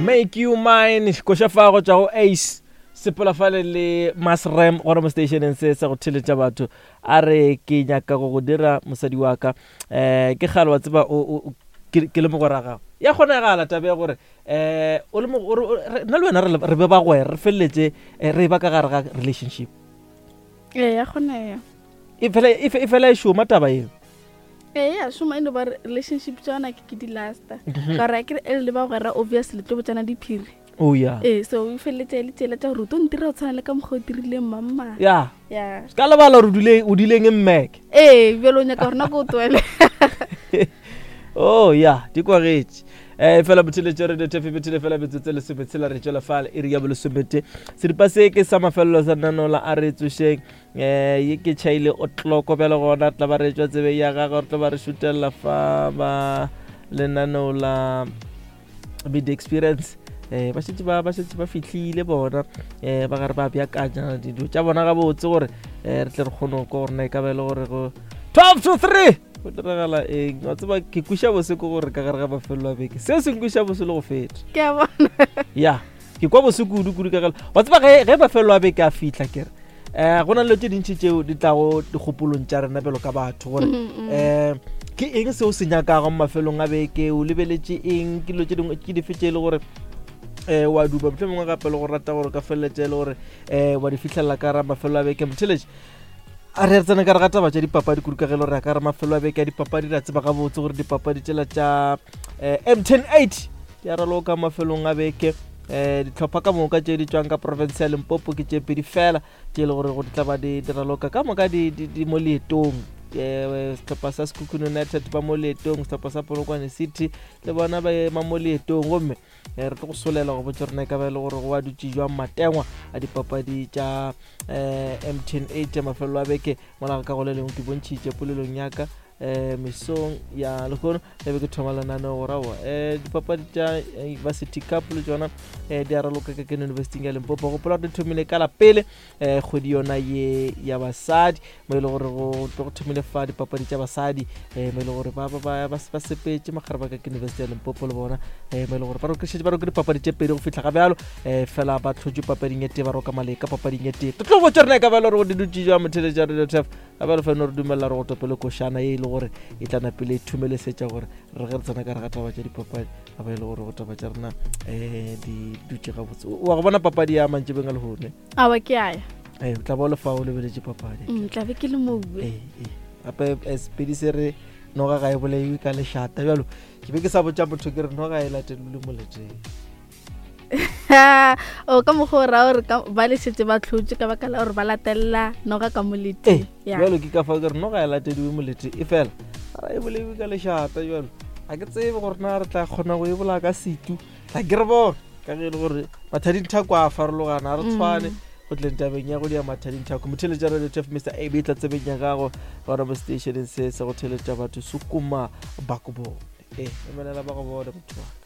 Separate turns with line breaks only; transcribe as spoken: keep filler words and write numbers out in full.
Make You Mine koša fa go tšwa go Ace sepela fale le Masrem gona mo stationeng se sa go theletša batho. A re ke nyaka go go dira mosadi wa ka, um ke kgale wa tseba o ke le mogwera gago. Ya kgonagala taba ya gore um o le nna le wena re be bagwera, re feleletše re ba ka gare ga relationship.
Ee, ya kgonega.
E fela e šoma taba eo.
Ee, ya šoma, e no ba relationship tsona ke ke di-lasta ka gore akere e le bagwera obviously tlo botsana diphiri.
Oh ya.
Ee, so e feleletse e le tsela tša gore o tlo ntira go tshwana le ka mokgwa o dirileng mamma.
Ya.
Ya.
Ka lebala gore o dileng e mmeke.
Ee, bjalo o nyaka gore nako o twele.
Oh ya, di kwagetše. Eh fela botheletše re tefe bethele fela metsotso lesometshela re tšwela fale iri ya bolesomete. Seripa se ke sa mafelelo sa nanola a re tsošeng. Eh ye ke tšhaile o tloko bjalo gona tla ba re tšwa tsebe ya gagwe, re tla ba re šutella fa ba lenaneo la Media Experience. Eh ba šetše ba ba šetše ba fihlile bona, eh ba gare ba beakanya dilo tša bona gabotse gore eh re tle re kgone go kwa gore na e ka ba e le gore go twelve to three go diragala eng. Wa tseba ke kweša bose ke gore ka gare ga mafelelo a beke seo se nkweša bose le go feta.
Ke a bona.
Ya, ke kwa bose kudu kudu ka gare. Wa tseba ge ge mafelelo a beke a fihla ke re eh go na le tše dintši tšeo di tlago dikgopolong tša rena bjalo ka batho gore eh ke eng seo se nyakago mo mafelong a beke, o lebeletše eng, ke dilo tše dingwe ke dife tše e le gore eh wa duba mohlomongwe gape le go rata gore ka feleletše e le gore eh wa di fihlelela ka ra mafelo a beke. Motheletše a re re tsena ka re ga taba tša dipapadi kudu ka ge le gore ya ka re mafelo a beke a dipapadi, re a tseba gabotse gore dipapadi tšela tša M ten eight di a raloka mafelong a beke. Eh ditlhopha ka moka tše di tšwang ka province ya Limpopo ke tše pedi fela tše e le gore go di tla ba di raloka ka moka di di mo leetong. Eh sehlopha sa Sekhukhune United ba mo leetong, sehlopha sa Polokwane City le bona ba ema mo leetong, gomme re tlo go solela go botša rena e ka ba e le gore go a dutše jwang matengwa a dipapadi tša eh M ten eight mafelelo a beke. Mola ka go le lengwe ke bontšhitše polelong ya ka eh mesong ya lehono e be ke thoma lenaneo gore aowa eh dipapadi tša Varsity Cup le tšona eh di a raloka ka Kene University ya Limpopo. Gopola gore di thomile ka la pele eh kgwedi yona ye ya basadi mo e le gore go tlo go thomile fa dipapadi tša basadi eh mo e le gore ba ba ba ba sepetše magare ba ka Kene University ya Limpopo le bona eh mo e le gore ba rokišetše ba roke dipapadi tše pedi go fihla ga bjalo eh fela ba hlotše papading e tee, ba roka maleka papading e tee. Tlo botša rena e ka ba e le gore go di dutše jwang motheletša Radio T F ga bjalo fela re dumella re go topele košana ye e le gore e tla napele e thumelesetša gore re ge re tsena ka re ga taba tša dipapadi ga ba e le gore go taba tša rena um di dutše gabotse. Wa go bona papadi ya mantšebeng a lehono?
Aowa, ke aya.
Ee, o tla ba o le fa o lebeletše papadi.
Tla be ke le moue.
Ee, ee. Gape sepedi se re noga ga e bolaiwe ka lešata bjalo ke be ke sa botša motho ke re noga e latelelwe moleteng.
O ka mokgwa o raya gore ba le šetše ba hlotše ka baka la gore ba latelela noga ka moleteng.
Bjalo ke ka fao ke re noga e latediwe moleteng e fela ga e bolaiwe ka lešata bjalo ga ke tsebe gore na re tla kgona go e bolaya ka setu. Tla ke re bone ka ge e le gore mathadinthako a farologana, ga re tshwane go tleng tabeng ya go dia mathadinthako. Motheletša Radio T F Mister A B tla tsebeng ya gago gona mo stationeng se se go theletša batho sukuma ba go bone. Ee, emelela ba go bone motho wa.